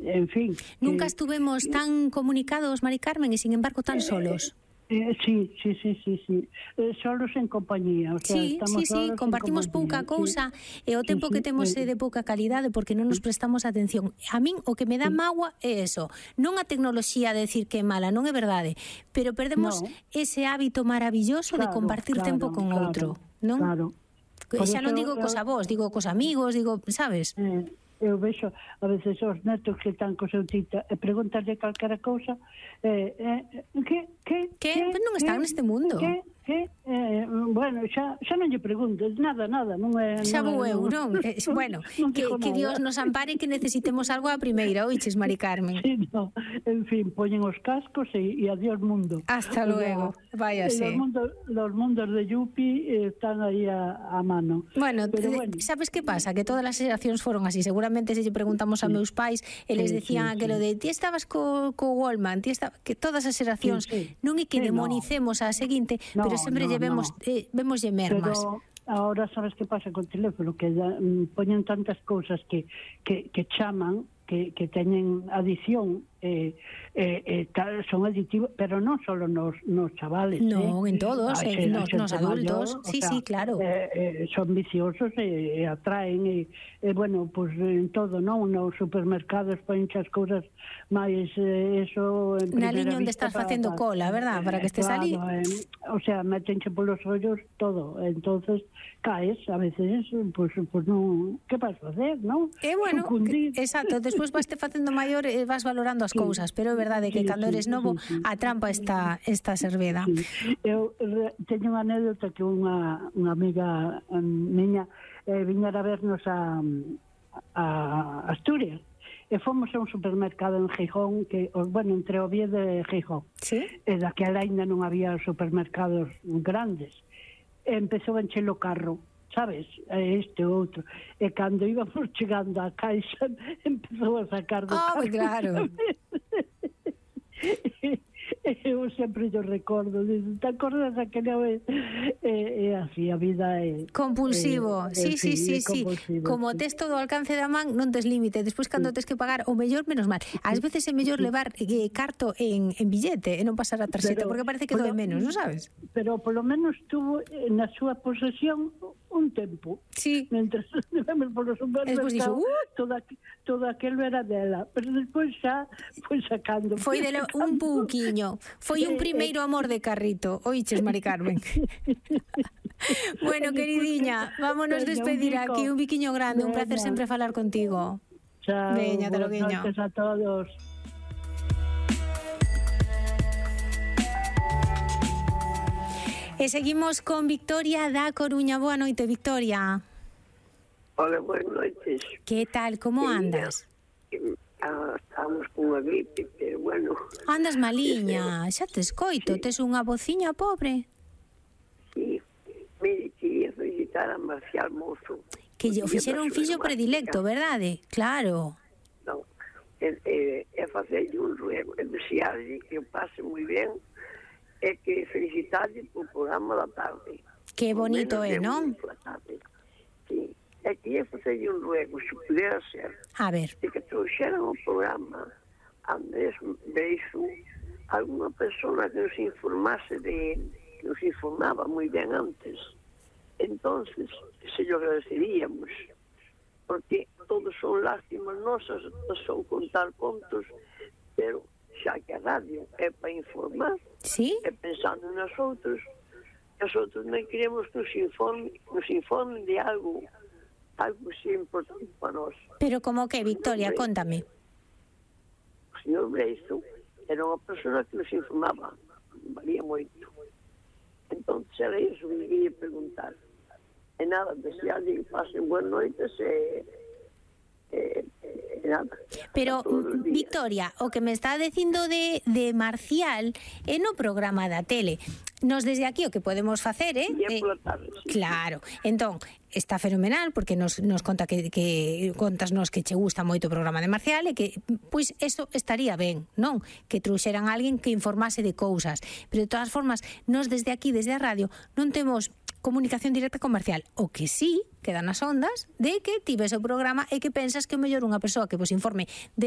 en fin. Nunca estuvemos tan comunicados, Mari Carmen, e sin embargo tan solos. Sí. Solos en compañía. O sea, Sí, compartimos pouca cousa e o tempo que temos é de pouca calidade porque non nos prestamos atención. A min o que me dá mágoa é eso. Non a tecnoloxía de decir que é mala, non é verdade, pero perdemos ese hábito maravilloso de compartir tempo con outro, non? Claro. Xa non digo cos avós, digo cos amigos, digo, sabes? Eu vexo a veces os netos que están co seu tita e preguntarlle calquera cousa que non están neste mundo. Bueno, xa non lle preguntes nada, non é... Xa vou eu, non? Bueno, que Dios nos ampare que necesitemos algo a primeira, oiches, Mari Carmen? Sí, no, en fin, poñen os cascos e adiós mundo. Hasta luego, váyase. Los mundos de Yupi están aí a mano. Bueno, sabes que pasa? Que todas as xeracións foron así. Seguramente se lle preguntamos a meus pais, eles decían aquilo de ti estabas co Wallman, que todas as xeracións non é que demonicemos a seguinte, pero sempre vemoslle mermas. Pero ahora sabes que pasa con o teléfono, que poñen tantas cousas que chaman, que teñen adición, son aditivos, pero non só nos chavales. Non, en todos, nos adultos. Sí, claro. Son viciosos e atraen, bueno, pues en todo, non? Nos supermercados poñen as cousas máis eso... Na liña onde estás facendo cola, verdad? Para que estés ali. O sea, metenche polos ollos todo. Entonces caes, a veces, pues non... Que vas facer, non? Bueno, exacto. Despois vaste facendo maior e vas valorando as cousas, pero é verdade que cando eres novo a trampa está serveda. Eu teño unha anécdota que unha amiga miña viñera a vernos a Asturias e fomos a un supermercado en Gijón que, bueno, entre Oviedo e Gijón. E daquela ainda non había supermercados grandes. Empezou a encher o carro, sabes, este outro, e cando íbamos chegando á caixa empezou a sacar do carro. Claro. Eu sempre yo recordo, te acordas aquela vez? É así, a vida é... Compulsivo, sí. Como tes todo ao alcance da man, non tes límite. Despois, cando tes que pagar, o mellor, menos mal. Ás veces é mellor levar carto en billete e non pasar a tarxeta, porque parece que doe menos, non sabes? Pero polo menos tuvo na súa posesión un tempo. Sí. Mentre vemos polo supermercado, todo aquilo era dela. Pero despois xa foi sacando. Foi dela un pouquiño. Foi un primeiro amor de carrito. Oiches, Mari Carmen. Bueno, queridiña, vámonos despedir aquí. Un biquiño grande, un placer sempre falar contigo. Chao. Veña, te lo guiño. Buenas noches a todos. E seguimos con Victoria da Coruña. Boa noite, Victoria. Hola, boas noites. Que tal, como andas? Estamos con unha gripe, pero bueno... Andas maliña, xa te escoito, tes unha vociña pobre. Sí, mire, quería felicitar a Marcial Mozo. Que lle fixeron un fillo predilecto, verdade? Claro. Non, é facerlle un ruego, é desearlle que o pase moi ben, e que felicitarlle por programa da tarde. Que bonito é, non? Sí. É que ia facerlle un ruego, se pudera ser, a ver, de que trouxeran o programa Andrés Beixo, alguna persona que nos informase de él, que nos informaba moi ben antes. Entonces, se lo agradeceríamos, porque todos son lástimas nosas, son contar contos, pero xa que a radio é para informar, é pensando nas outros, os outros non queremos que nos informen de algo que é importante para nós. Pero como que, Victoria, contame. O señor Breizo era unha persona que nos informaba, valía moito. Entón, era iso que me quería preguntar. E nada, desearlle que pasen buenas noites e nada. Pero, Victoria, o que me está dicindo de Marcial é no programa da tele. Nos desde aquí o que podemos facer, claro, entón está fenomenal porque nos conta que contasnos que che gusta moito o programa de Marcial e que, pois, eso estaría ben, non? Que trouxeran alguén que informase de cousas, pero de todas formas, nos desde aquí, desde a radio, non temos comunicación directa con Marcial, o que sí queda nas ondas de que tives o programa e que pensas que é mellor unha persoa que vos informe de